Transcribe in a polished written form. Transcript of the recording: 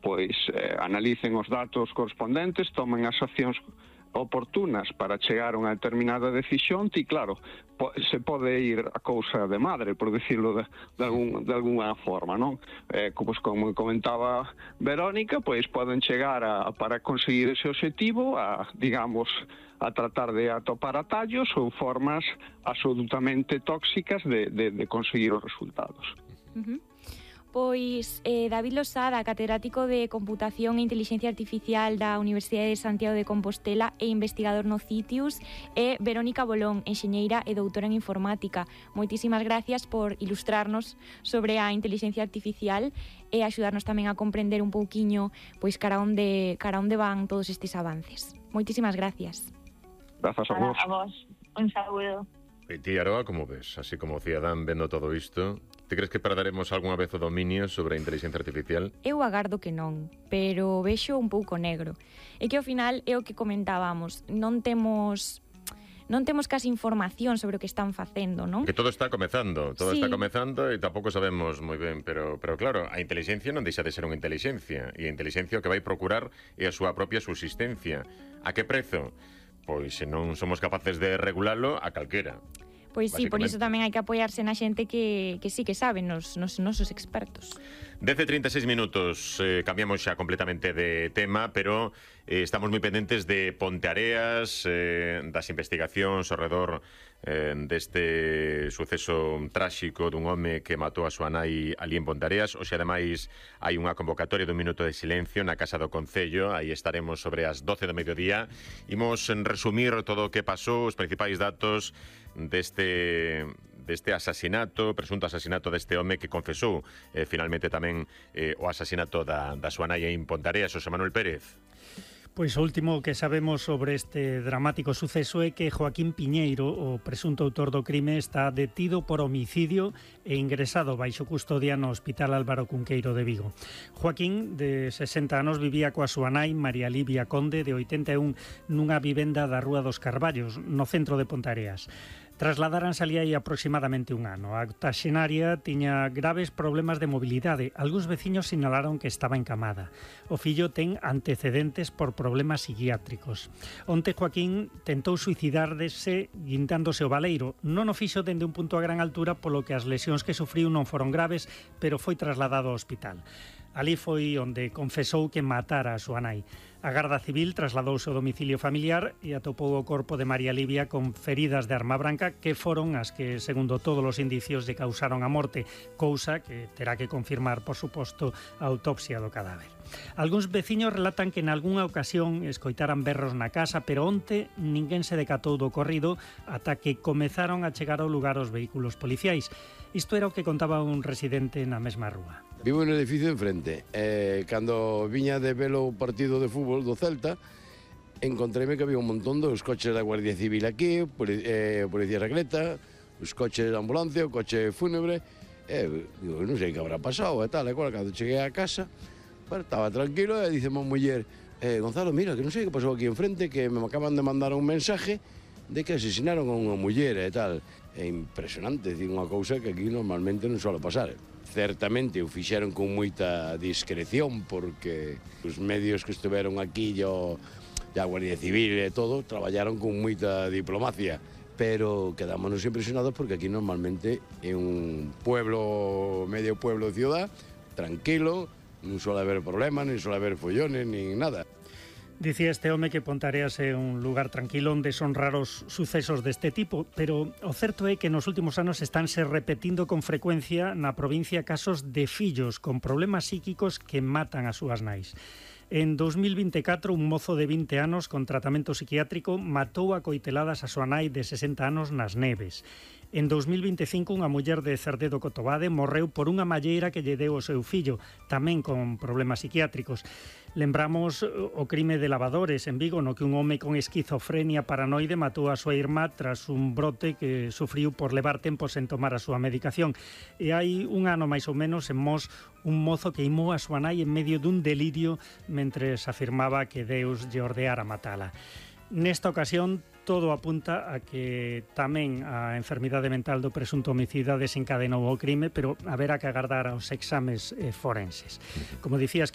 pois analicen os datos correspondentes, tomen as accións oportunas para chegar a unha determinada decisión, e claro, se pode ir a cousa de madre, por decirlo de alguna forma, non? Como comentaba Verónica, pois poden chegar para conseguir ese obxectivo digamos, a tratar de atopar atallos ou formas absolutamente tóxicas de conseguir os resultados. Pois David Losada, catedrático de Computación e Inteligencia Artificial da Universidade de Santiago de Compostela e investigador no CITIUS, e Verónica Bolón, enxeñeira e doutora en Informática. Moitísimas gracias por ilustrarnos sobre a inteligencia artificial e axudarnos tamén a comprender un pouquiño pois cara onde van todos estes avances. Moitísimas gracias. Grazas a vos. A vos, un saúdo. E ti, Aroa, como ves? Así como cidadán vendo todo isto, te crees que perderemos algunha vez o dominio sobre a inteligencia artificial? Eu agardo que non, pero vexo un pouco negro. E que ao final é o que comentábamos, non temos casi información sobre o que están facendo, non? Que todo está comezando, Sí. está comezando e tampouco sabemos moi ben, pero claro, a inteligencia non deixa de ser unha inteligencia, e a inteligencia o que vai procurar é a súa propia subsistencia. A que prezo? Pois se non somos capaces de regulalo, a calquera. Pois sí, por iso tamén hai que apoiarse na xente que sí que sabe, nos nosos expertos. 10:36 minutos, cambiamos xa completamente de tema, pero estamos moi pendentes de Ponteareas, das investigacións ao redor deste suceso tráxico dun home que matou a súa nai ali en Ponteareas. Hoxe, ademais, hai unha convocatoria dun minuto de silencio na Casa do Concello. Aí estaremos sobre as 12 do mediodía. Imos resumir todo o que pasou, os principais datos deste presunto asasinato deste home que confesou finalmente tamén o asasinato da súa nai en Ponteareas. Xosé Manuel Pérez. Pois o último que sabemos sobre este dramático suceso é que Joaquín Piñeiro, o presunto autor do crime, está detido por homicidio e ingresado baixo custodia no Hospital Álvaro Cunqueiro de Vigo. Joaquín, de 60 anos, vivía coa súa nai, María Livia Conde, de 81, nunha vivenda da Rúa dos Carballos, no centro de Ponteareas. Trasladaranse ali hai aproximadamente un ano. A octoxenaria tiña graves problemas de mobilidade. Algúns veciños sinalaron que estaba encamada. O fillo ten antecedentes por problemas psiquiátricos. Onte Joaquín tentou suicidárdese guindándose o baleiro. Non o fixo dende un punto a gran altura, polo que as lesións que sufriu non foron graves, pero foi trasladado ao hospital. Ali foi onde confesou que matara a súa nai. A Garda Civil trasladouse ao domicilio familiar e atopou o corpo de María Livia con feridas de arma branca que foron as que, segundo todos os indicios, lle causaron a morte, cousa que terá que confirmar, por suposto, a autopsia do cadáver. Algúns veciños relatan que en algunha ocasión escoitaran berros na casa, pero onte ninguén se decatou do ocorrido ata que comezaron a chegar ao lugar os vehículos policiais. Isto era o que contaba un residente na mesma rúa. Vivo no edificio enfrente. Cando viña de velo o partido de fútbol do Celta, encontréme que había un montón dos coches da Guardia Civil aquí, Policía Secreta, os coches de ambulancia, o coche fúnebre. Digo, non sei que habrá pasado e tal. E cando cheguei á casa, estaba tranquilo e dice a muller, Gonzalo, mira, que non sei que pasou aquí enfrente, que me acaban de mandar un mensaje de que asesinaron a unha muller e tal. É impresionante, é unha cousa que aquí normalmente non suele pasar. Certamente o fixeron con moita discreción, porque os medios que estiveron aquí a Guardia Civil e todo traballaron con moita diplomacia, pero quedámonos impresionados porque aquí normalmente é un pueblo, medio pueblo de ciudad, tranquilo, non suele haber problemas, non suele haber follones, nin nada. Dicía este home que Ponteareas é un lugar tranquilo onde son raros sucesos deste tipo, pero o certo é que nos últimos anos estánse repetindo con frecuencia na provincia casos de fillos con problemas psíquicos que matan as súas nais. En 2024, un mozo de 20 anos con tratamento psiquiátrico matou a coiteladas a súa nai de 60 anos nas Neves. En 2025, unha muller de Cerdedo Cotobade morreu por unha malleira que lle deu o seu fillo, tamén con problemas psiquiátricos. Lembramos o crime de Lavadores en Vigo, no que un home con esquizofrenia paranoide matou a súa irmá tras un brote que sufriu por levar tempo sen tomar a súa medicación. E hai un ano máis ou menos en Mos, un mozo que imou a súa nai en medio dun delirio mentres afirmaba que Deus lle ordeara matala. Nesta ocasión, todo apunta a que tamén a enfermidade mental do presunto homicida desencadenou o crime, pero haberá que agardar aos exames forenses. Como dicías,